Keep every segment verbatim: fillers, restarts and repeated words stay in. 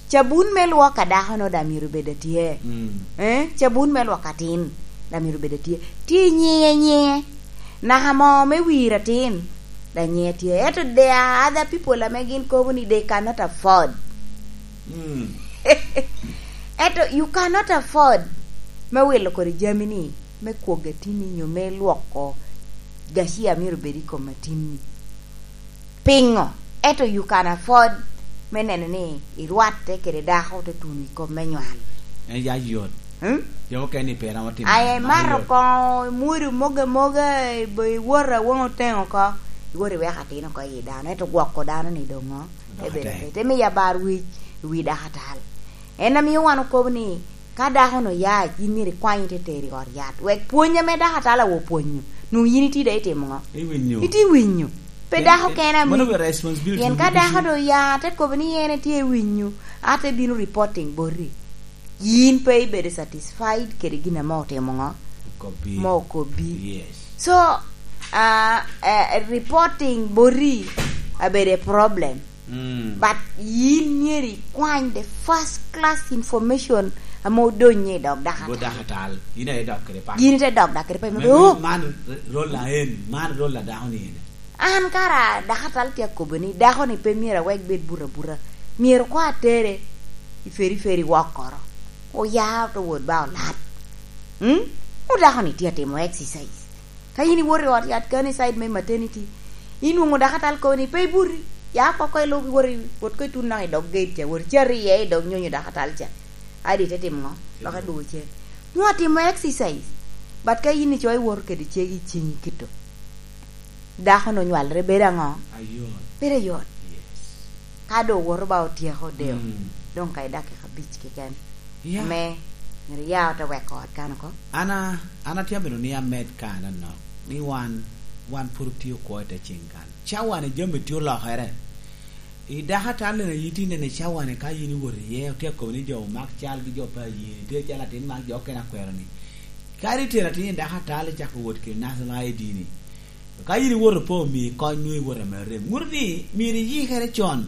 Cabun me lwok a dako-nu daŋ myero bed atye. Mm. Eh? Cabun me lwok atin daŋ myero bed atye. Tye nyiŋe, nyiŋe. Naka mo me wir atin daŋ nyiŋe tye. Ento there are other people ame gin kobo ni they cannot afford. Mm. Ento you cannot afford me wilo kodi jami-ni, me kwogo atin-ni nyo me lwoko gacia myero bed i kom atin-ni. Piŋo? Ento you can afford me neno ni irwatte kede dako te tuno i kom me nywal. En ya yot. Hmm? Jo mukene ni pe romo timo. Aye man mato yot. Koŋo imwodo moga moga, ibo-, iwoto awoŋo oteŋo oko, iwoto iweko atin oko i dano, ento gwoko dano ni doŋo. Dok ebedo ate. Te miyo abar wic i wi dako atal. En amio wan okobo ni, ka dako-nu oya, yin myero ikwany ite tero i ot yat. Wek pwony ame dako atal awo pwonyo, nwoŋo yin itye daŋ itimo ŋo? Iwinyo. Itye winyo. Pe en, dako en, kene ami. Mano obedo responsibility. Pien ka dako-nu oya, te kobo ni en etye i winyo, a te bino reporting boti. Yin pe ibedo satisfied kede gin ame otimo ŋo? Okobbi. Ma okobbi. Yes. So, ah, eh, reporting boti abedo a problem. Mm. But yin myero ikwany the first class information ame odonyo i dog dako atal. Dako atal. Yin aye dok kede paco. Yin ite dok dok kede paco. Man, oh, man rolla en, man rolla dako ni en. An kara dako atal tye akobo ni dako ni pe myero awek bed buto abuta. Myero kwa atere i feri feri wok koro. Oya oto wot ba olat. Hmm? O dako ni tye atimo exercise. Ka yin iwoto i ot yat kani side me maternity, inwoŋo dako atal kobo ni pe ibuti, ya oko oko ilub iwot i, wot ko itun naka i dog gate ca, wot icati iye i dog nyonyo dako atal ca. Adi ite timo ŋo? Lok idwogo cen. Nwoŋo atimo exercise. But ka yin icoyo iwoto kede cegi i ciŋi kito, dako-nu onywalere bedo aŋo? Ayot. Bedo ayot. Yes. Ka doŋ owoto ba otyeko deo, mm, doŋ ka i dakika abic keken. Yeah. Ame myero ya ote weko ot kan oko. An a-, an atye amito ni amed kan anok, ni wan, wan pwod otye okwo i te ciŋ kan. Cawa-ni jami tye olokere. I dako atal-li na yin tye neno i cawa-ni ka yin iwoto iye, otye akobo ni jo omak cal gi jo pe aye, tye cal atin mak jo okene akwero-ni. Kadi itero atin i dako atal icako wot kede national I D-ni. Ka yin iwoto pe omii kony, nwoŋo iwoto ame rem. Ŋuto ni myero iyikere con,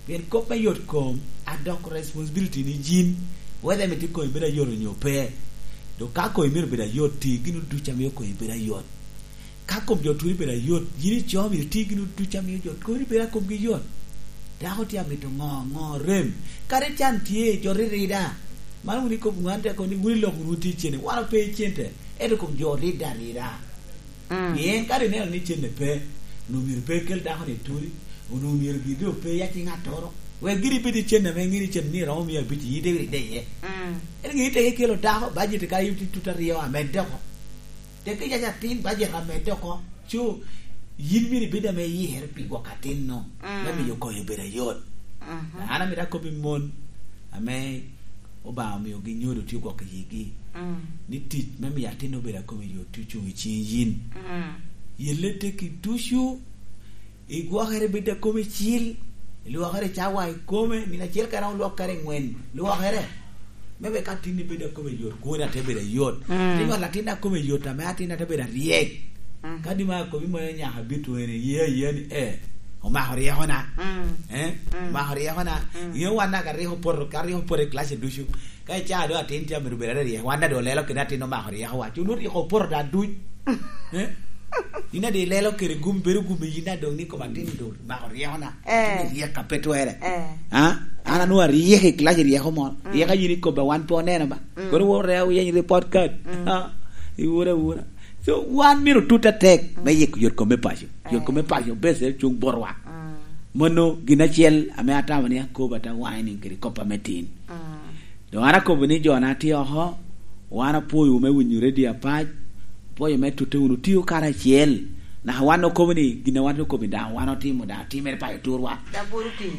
pien kop me yot kom adoko responsibility ni yin, whether imito komi bedo ayot onyo pe. Dok ka komi myero bedo ayot, ti gin ducu a mio komi bedo ayot. Ka kom jo turi bedo ayot, yin ico myero ti gin ducu a mio jo turi bedo a komgi yot. Dako tye amito ŋo, ŋo rem. Kadi can tye, jo ririda. Man wun ikobo ŋwan te kono ni wun iloko wunu ti cene, wan ope i cente, ento kom jo rida rida. Mm. Pien ka ineno ni cente pe, onwoŋo myero pe ikel dako-ni i turi, onwoŋo myero gin doŋ pe i acing atoro. Wek gin ibed i cente ame iŋeo ni cente ni romo mia abic, yin ite wiri ide iye. Mm. Ento gin ite ikelo dako, bajet ka itye tut aryo, amedde oko. Tek iyac atin, bajet amedde oko. Cu, yin myero ibed ame iyikere pi gwoko atin-nu, mm, me miyo koyo bedo ayot. Mhm. An amito akobbi mon ame Obaŋa omiogi nyodo tye gwok i yigi, mm, ni tic me miyo atin obedo a kome yot tye ocuŋ i ciŋ yin. Mm. Yelle tekki ducu, igwokere bed a kome cil, ilwokere i cawa i kome, nino acel kara olwok kare ŋwen, lwokere. Me wek atin-ni bed a kome yot, kwoni ate bedo ayot. Mm. Te nywalo atin a kome yot, ame atin ate bedo aryek. Mhm. Kadi ma akobi moyo nyaka bito ene, ye aye ni, eh, omako ryekona. Mm. Eh? Mm. Omako ryekona. Mm. Ŋeo wan naka ryeko poto, ka ryeko poto i klace ducu. Ka icaa doŋ atin tye amito bedo aryek, wan daŋ doŋ olelo kede atin omako ryekowa. Cu onwoŋo ryeko opoto daŋ duc. Eh? Yin daŋ ilelo kede gum, bedo gum i yin daŋ doŋ ni kom atin doŋ omako ryekona. Eh. Atin ryek a pe twere. Eh. Ah? An anwoŋo aryek i klac i ryeko mo. Mm. Ryeko a yin ikobba wan pe oneno ba. Mm. Kono wot reo yeny report card. Mm. Ah, iwura awura. So, wan myero otut atek me yiko yot kom me paco. Yot kom me paco, bes en cuŋ botwa. Mm. Mano gin acel ame atamo ni akobo ata whining kede kop ame tin. Mm. Doŋ an akobo ni jo na tye oko, wan apwoyo me winyo redio apac, apwoyo me tute wunu tio karacel. Naka wan okobo ni gin a wan okobo ni daŋ wan otimo, daŋ timere paco turwa.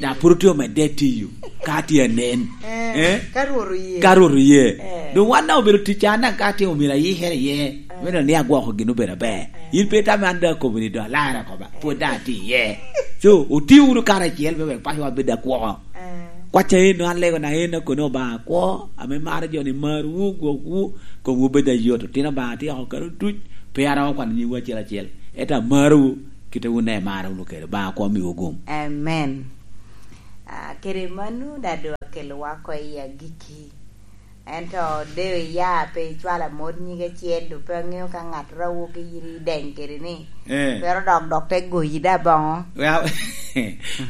Daŋ pwod otye omedde tiyo, ka tye anen. Eh, eh? Ka Rwot oye. Ka Rwot oye. Eh. Doŋ wan daŋ obedo ticca, an daŋ ka atimo myero ayikere iye. Eh. Me neno ni agwoko gin obedo aber. Eh. In pe itamo an daŋ akobo ni doŋ alarre oko ba. Eh. Pwod daŋ atye iye. So, oti wunu karacel me wek pacowa bed akwoko. Eh. Kwacca en, an lego na en akono Obaŋa akwo, ame maro jo-ni marwu, gwokwu, komwu bed ayot. Otino Obaŋa tye oko kare duc, pe aromo kwano nyingwu acel acel. Ento amarowu, kite wun daŋ imara wunu kede. Obaŋa akwo miwu gum. Amen. Ah, kede mano, daŋ doŋ Kelowa oko i agikki. Ento deyo iya pe icwalo amot nyige acel, doŋ pe aŋeo ka ŋattoro a wok i iri ideny kede ni, eh, twero dok, dok te goyi da boŋo. Well,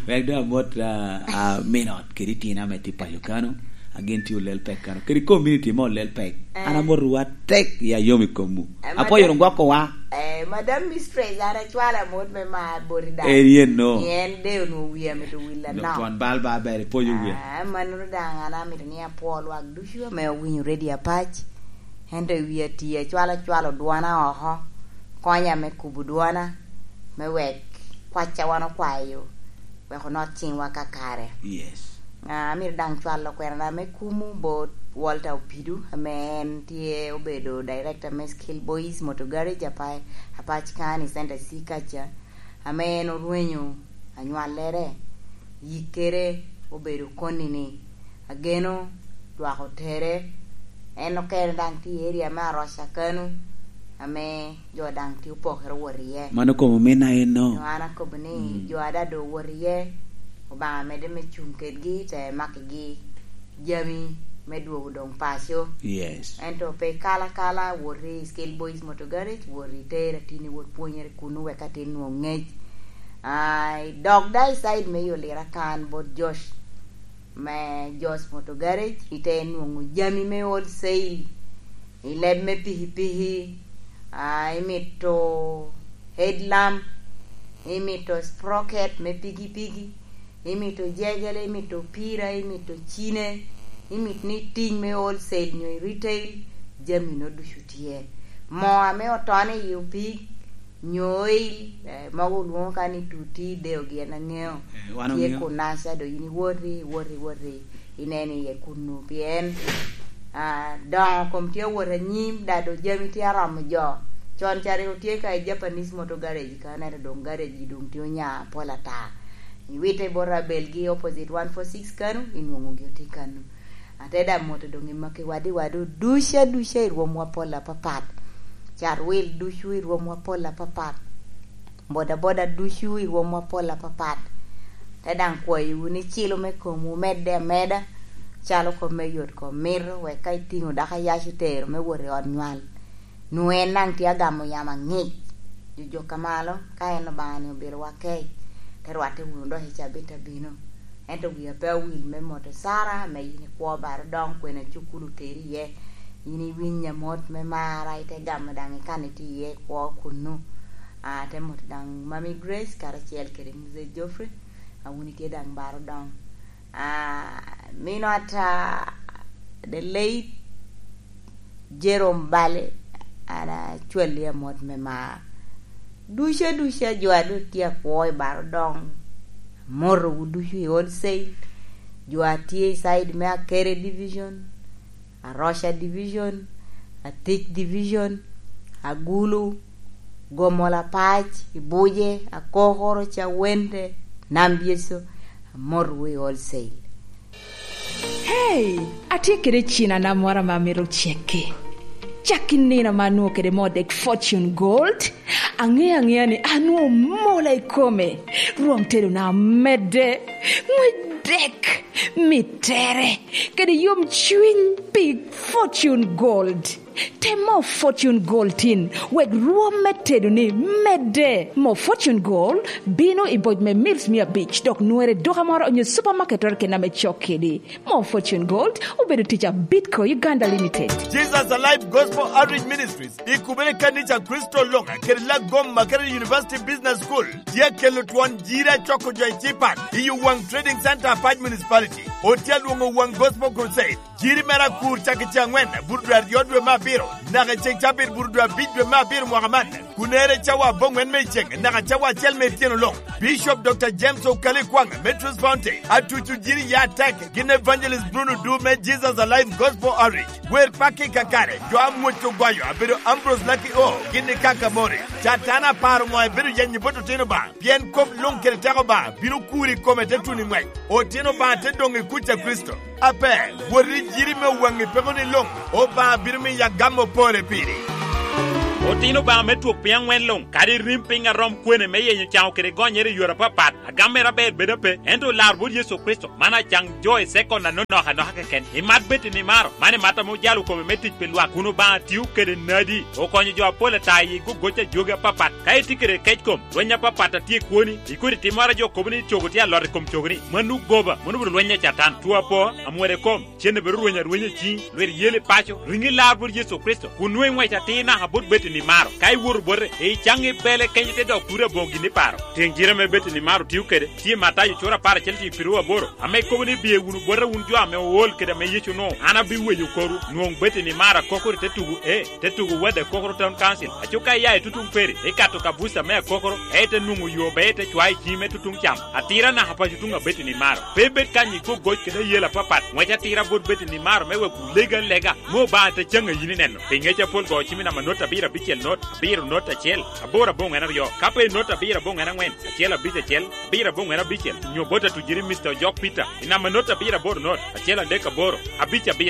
wek doŋ amot, ah, ah, min ot kede itino ame tye paco kano, a gin tye olel pek kano. Kede community me olel pek. Eh. An amot ruwa tek, ya yom i komwu. Eh, apwoyo madam, rungwa kowa. Eh, Madam Mistress, an acwalo amot me mar boti daŋ. Eh, yen no. Pien de onwoŋo wia mito wil anok. Twon bal ba ber, ipwoyo wia. Ah, mano daŋ an amito ni apwo lwak ducu ame owinyo Radio Apac. Ento i wi ati acwalo acwalo dwona oko. Konya me kubo dwona, me wek kwacca wan okwayo, wek onot ciŋwa kakare. Yes. Ah, amito daŋ cwalo kwerana me kumo bot Walter Opidu, ame en tye obedo director me Skill Boys Motor Garage, Apa-, Apac County Center C kaca, ame en orwenyo anywallere, yikkere obedo koni-ni. Ageno lwak otere, en okene daŋ tye i area me Aroca kano, ame jo daŋ tye opokere wot iye. Mano kom ominna en no. An akobo ni, mm, jo ada doŋ owot iye, Obaŋa medde me cuŋ kedgi, te makkigi jami me dwogo doŋ paco. Yes. Ento pe ikal akala, wot i Skill Boys Motor Garage, wot i Teera tin iwot pwonyere kunu wek atin nwoŋ ŋec. Ah, dok da i side me Yolira kan bot Josh, me Josh Motor Garage, ite nwoŋo jami me wholesale, i leb me pikipiki, ah, imito headlamp, imito sprocket me pikipiki, imito jegele, imito pira, imito cine, imito ni ting me wholesale nyo i retail, jami no ducu tye. Moo ame otono i opig, nyo oil, eh, mogo olwoŋo ka ni tuti, deo gin aŋeo. Eh, wan tye oŋeo. Kunaca, do yin iwoti, iwoti, iwoti, ineno iye kunnu. Pien, ah, doŋo kom tye awot anyim, da do jami tye aromo jo. Con ca rik otye ka i Japanese Motor Garage ka, ento doŋ garage doŋ tye onya apol ata. Iwite bot Abel gi opposite one four six kanu, inwoŋogi otye kanu. Ate daŋ moto doŋ i Makki wadi wadu duca duca i rwomwa pol apapat. Carwil ducu i rwomwa pol apapat. Bodaboda ducu i rwomwa pol apapat. Te daŋ kwayowu ni cilo me komwu medde ameda, calo kop me yot kom mito, wek ka itiŋo dako ayac itero me wot i ot nywal, nwoŋo en daŋ tye agamo yamo aŋic. Jojok ka malo, ka en Obaŋa-ni obilowa kec, te rwatte wunu dok i cabit abino. Ento wia pe awil me moto Sara, ame yin ikwo baro doŋ kwena cukulu oteri iye. Yin iwinya mot me mara, ite gamo daŋ ikan itye iye ikwo kunnu. Ah, te moto daŋ Mami Grace karacel kede Mzee Geoffrey, a wun itye daŋ baro doŋ. Ah, min ot, ah, the late Jerome Bale, an acwalli amot me mar. Duca duca jo a doŋ tye akwo i baro doŋ, amotowu ducu i wholesale, jo a tye i side me Akere Division, Aroca Division, Atic Division, Agulu, Gomola Pac, Ibuje, Akokoro, Cawente, Nam Byeco, amotowu i wholesale. Hey, atye kede cinana moro ame amito cekke. Cak i nino ame anwoŋo kede moo dek Fortune Gold, aŋeo aŋea ni anwoŋo mola i kome. Rwom tedona omedde, ŋwec dek, mittere, kede yomcwiny pi Fortune Gold. Tem moo Fortune Gold tin, wek rwom me tedoni medde. Moo Fortune Gold bino i boc me mils mia abic, dok nwere i duka moro onyo supamaket keken ame cok kedi. Moo Fortune Gold obedo tic a Bitco Uganda Limited. Jesus Alive Gospel Outreach Ministries, i kubere kanica Kricito luŋ, kede Lagoma Kerere University Business School, tye akelo twon jiri acoko jo i Cipan, i Owaŋ Trading Center, Apac Municipality. Otye alwoŋo Owaŋ Gospel Crusade. Jiri mere akur cak i ce aŋwen, bur dwe aryo dwe me abiro, naka i ceŋ cabit bur dwe abic dwe me abiro mwaka man, kun ere cawa aboŋwen me i ceŋ, naka cawa acel me ityeno luŋ. Bishop Doctor James Okali Kwaŋ me Truth Fountain, atuco jiri ya atek, gin Evangelist Bruno Du me Jesus Alive Gospel Outreach, wer pakki kakare, jo amwoc ogwayo, abedo Ambrose Lucky O, gin i Kakamori. Catan aparo ŋo ebedo yenyo bot otino ba? Pien kop luŋ kede teko ba bino kuri i kome te tuno i ŋwec. Otino Obaŋa te doŋ i kuc a Kricito. Ape, wot i jiri me Owaŋ i peko ni luŋ, Obaŋa bino miyo agam opore piri. Otino Obaŋa me twok piny aŋwen luŋ, kadi rim piny a rom kwene me yenyo caŋo kede gonyere i yore apapat, agam mere aber bedo ape, ento olar bot Yecu Kricito, man acaŋ jo i sekon anonok anoka keken. Imat Betty Nimaro, man imat ame ojalo kome me tic pi lwak, kun Obaŋa tio kede nadi, okonyo jo apol ata i gogoc a jogi apapat. Ka itye kede kec kom, lweny apapat a tye i kwoni, ikodi timmoro a jo kobo ni cogo tye alot i kom cogoni, mano goba, mano obedo lweny a Catan. Two apo, amwode kom, cen obedo rweny arwenya i ciŋi, lwit yel i paco, riŋi lar bot Yecu Kricito, kun nwoŋo iŋwec atir naka bot Betty Nimaro. Ka iwoto bote, icaŋ ibele kenyo te dok turi aboŋo gin iparo. Tiŋ jire ame Betty Nimaro tio kede, tye i Matayo cura apar acel tiŋ piru aboro, ame kobo ni, "Biye wunu bota wun jo ame ool kede ame Yecu onwoŋo, an abiweyo korwu." Nwoŋo Betty Nimaro akokoro i te tugo e, te tugo Wade Akokoro Town Council. Aco ka iya i tutuŋ Peri, ikato ka buca me Akokoro, ka ite nwoŋo yo be ite cwayo i ciŋi me tutuŋ cam. Atira naka paco tuŋ a Betty Nimaro. Pe ibed kany i gogoc kede ayela apapat, ŋwec atira bot Betty Nimaro me wek wulego alega, me Obaŋa te caŋ a yin ineno. Pi ŋec apol go cim i namba not abiro abicel not, abiro not acel, aboro aboŋwen aryo. Ka pe i not abiro aboŋwen aŋwen, acel abic acel, abiro aboŋwen abicel, nyo bot atujiri Mister Ojok Peter, i namba not abiro aboro not, acel adek aboro, abic abiro